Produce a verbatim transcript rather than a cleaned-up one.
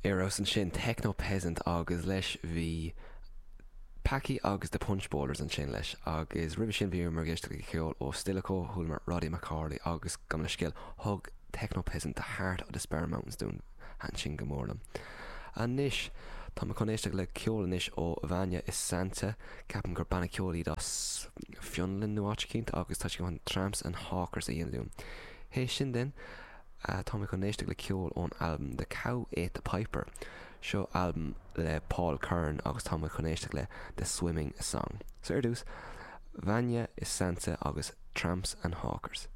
Ar ansin Techno Peasant agus leis bhí Packy agus the Punch Bowlers ansin leis agus roimhe sin bhí mar géiste ceol ó Stilicho chualamar Roddy McCorley agus gabh mo leithscéal thug Techno Peasant the Heart of the Sperrin Mountains dúinn ansin go mór liom. Anois Tá mé chun éisteacht le ceol anois ó Vanja Isante ceapaim gur banna ceoil iad as Fionlainn nó áit éicint agus tá sé chun Tramps and Hawkers a dhéanamh dúinn. Hé sin den tá mé chun éisteacht le ceol ón albam The Cow Ate the Piper. Seo albam le Paul Curran agus tá mé chun éisteacht le The Swimming Song. So ar dtús, Vanja Isante agus Tramps and Hawkers.